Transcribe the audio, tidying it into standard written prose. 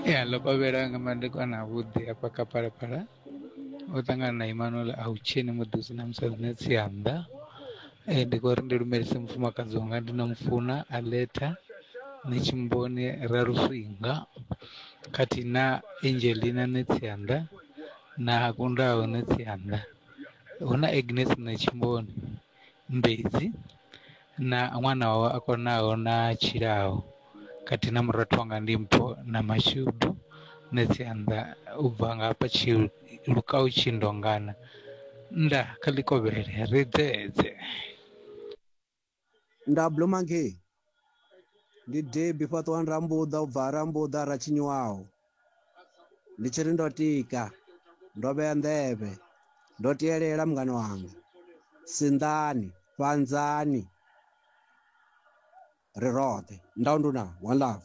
Ya ḽo kovhela nga madekwana avhuḓi hafha kha Phalaphala u ṱangana na Emmanuel Autsheni muḓi na musadzi na tsianda. Ndi khou ri ndi lumelise mufumakadzi wanga ndi no mufuna Aletha Netshimboni Raluswinga khathihi na Angelina Netsianda na Kundaho Netsianda hu na Agnes Netshimboni Mbedzi na ṅwana wawe a konaho na tshilaho khathihi na murathu wanga ndi Mpho na Mashudu Netsianda u bva nga hafha Tshilukau Tshindongana nda kha ḽikovhele ri dzedze. Nda Blue Monkey ndi Debbie Fhaṱuwani Rambuḓa u bva ha Rambuḓa ha Ratshinyiwaho. Ndi tshi ri ndo tika, ndo vhea nḓevhe, ndo tielela mungani wanga. Sinḓani, fhanzani, ri roṱhe. Ndau nduna, one love.